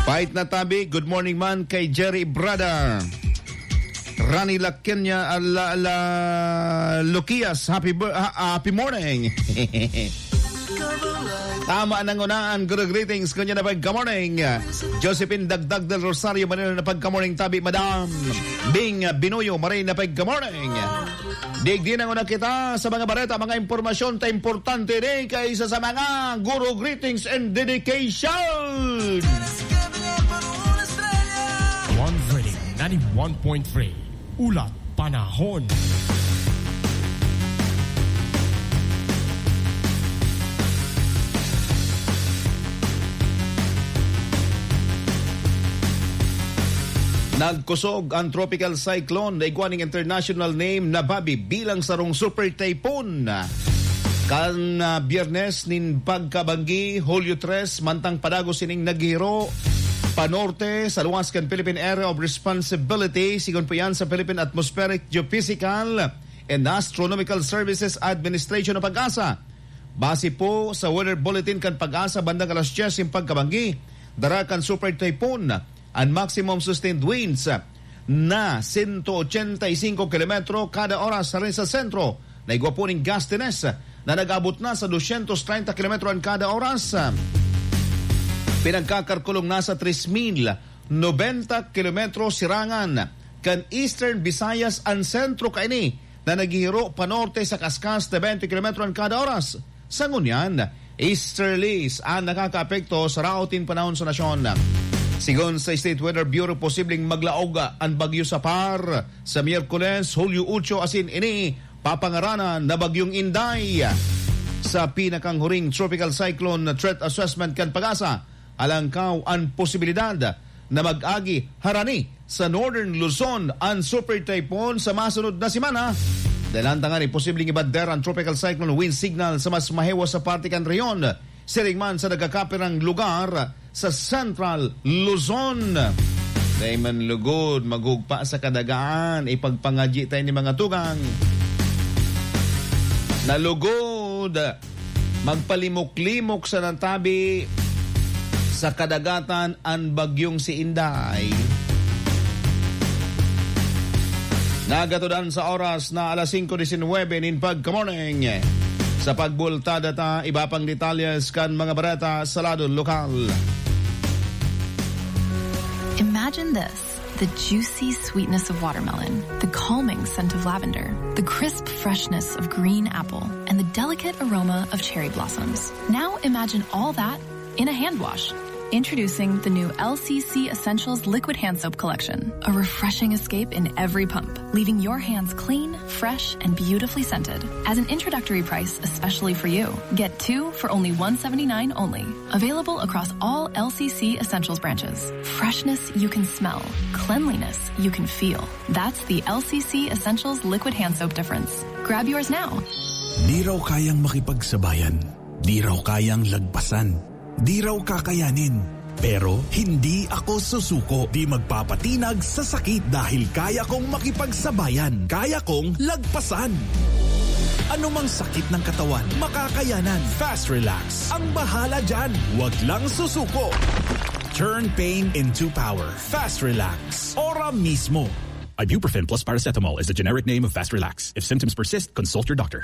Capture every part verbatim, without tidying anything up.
Pait na tabi, good morning man kay Jerry Brada. Rani Lakenya, ala, ala, Lukias, happy bir-, ha-, happy morning. Tama nang unaan, good greetings, kunya na pagka-morning. Josephine Dagdag del Rosario, Manila na pagka-morning, tabi, Madam. Bing Binoyo, Maray na pagka-morning. Digdi na nguna kita sa mga bareta, mga impormasyon ta importante di kaisa sa mga guro greetings and dedication. One Reading ninety-one point three. Ulat Panahon. Nagkusog ang tropical cyclone na igwa ning international name na Babi bilang sarong super typhoon. Kan, ah, Biyernes nin pagkabanggi, Hulyo tres, mantang padagos ining naghihiro panorte sa luwas kan Philippine Area of Responsibility, sigon po yan sa Philippine Atmospheric Geophysical and Astronomical Services Administration o PAGASA. Base po sa weather bulletin kan PAGASA, bandang alas dyes nin pagkabanggi, dara kan super typhoon an maximum sustained winds na sento ochenta y cinco kilometro kada oras sa, sa sentro na igwa po ning gusttiness na nag-abot na sa dosyentos treinta kilometro an kada oras. Pinagkakalkulong na sa tres mil nobenta kilometro sirangan kan Eastern Visayas an sentro kaini na naghihiro panorte sa kaskas na twenty kilometro an kada oras. Sa ngunyan, easterlies an nakakaapekto sa raot nin panahon sa nasyon. Sigon sa State Weather Bureau, posibleng maglaog an bagyo sa Par sa Miyerkules, Hulyo otso, asin ini papangaranan na Bagyong Inday. Sa pinakanghuring tropical cyclone threat assessment kan PAGASA, alangkaw an posibilidad na mag-agi harani sa Northern Luzon an super typhoon sa masunod na semana. Dalan tanganing posibleng ibander ang tropical cyclone wind signal sa mas mahiwas sa parte kan rehiyon, siring man sa nagkakapirang lugar sa Central Luzon. Dai man lugod, maghugpa sa kadagaan, ipagpangadyi tayo ni mga tugang. Nalugod, magpalimok-limok sa natabi sa kadagatan an bagyong si Inday. Nagatudan sa oras na alas singko disinwebe nin pagka-morning. Sa pagbultada ta, iba pang detalyes kan mga bareta sa lado lokal. Imagine this, the juicy sweetness of watermelon, the calming scent of lavender, the crisp freshness of green apple, and the delicate aroma of cherry blossoms. Now imagine all that in a hand wash. Introducing the new L C C Essentials Liquid Hand Soap Collection, a refreshing escape in every pump, leaving your hands clean, fresh, and beautifully scented. As an introductory price, especially for you, get two for only one seventy-nine only. Available across all L C C Essentials branches. Freshness you can smell, cleanliness you can feel. That's the L C C Essentials Liquid Hand Soap difference. Grab yours now. Di raw kayang makipagsabayan. Di raw kayang lagpasan. Di raw kakayanin. Pero hindi ako susuko. Di magpapatinag sa sakit dahil kaya kong makipagsabayan. Kaya kong lagpasan. Anumang sakit ng katawan, makakayanan. Fast Relax. Ang bahala dyan. Wag lang susuko. Turn pain into power. Fast Relax. Ora mismo. Ibuprofen plus paracetamol is the generic name of Fast Relax. If symptoms persist, consult your doctor.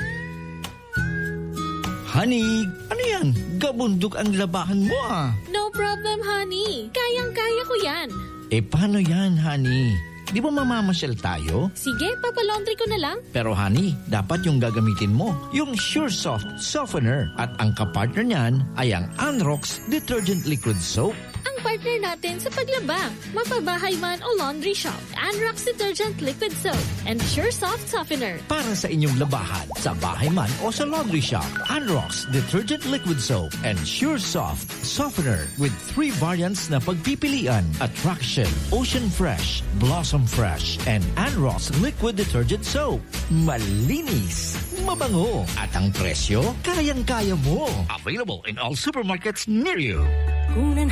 Honey, ano yan? Gabundok ang labahan mo, ah. No problem, honey. Kayang-kaya ko yan. Eh, paano yan, honey? Di ba mamamasyal tayo? Sige, papalaundry ko na lang. Pero, honey, dapat yung gagamitin mo, yung Sure Soft Softener. At ang kapartner niyan ay ang Anrox Detergent Liquid Soap. Ang partner natin sa paglaba, mapabahay man o laundry shop. Anrox Detergent Liquid Soap and Sure Soft Softener. Para sa inyong labahan, sa bahay man o sa laundry shop, Anrox Detergent Liquid Soap and Sure Soft Softener with three variants na pagpipilian: Attraction, Ocean Fresh, Blossom Fresh, and Anrox Liquid Detergent Soap. Malinis, mabango, at ang presyo, kayang-kaya mo. Available in all supermarkets near you. Una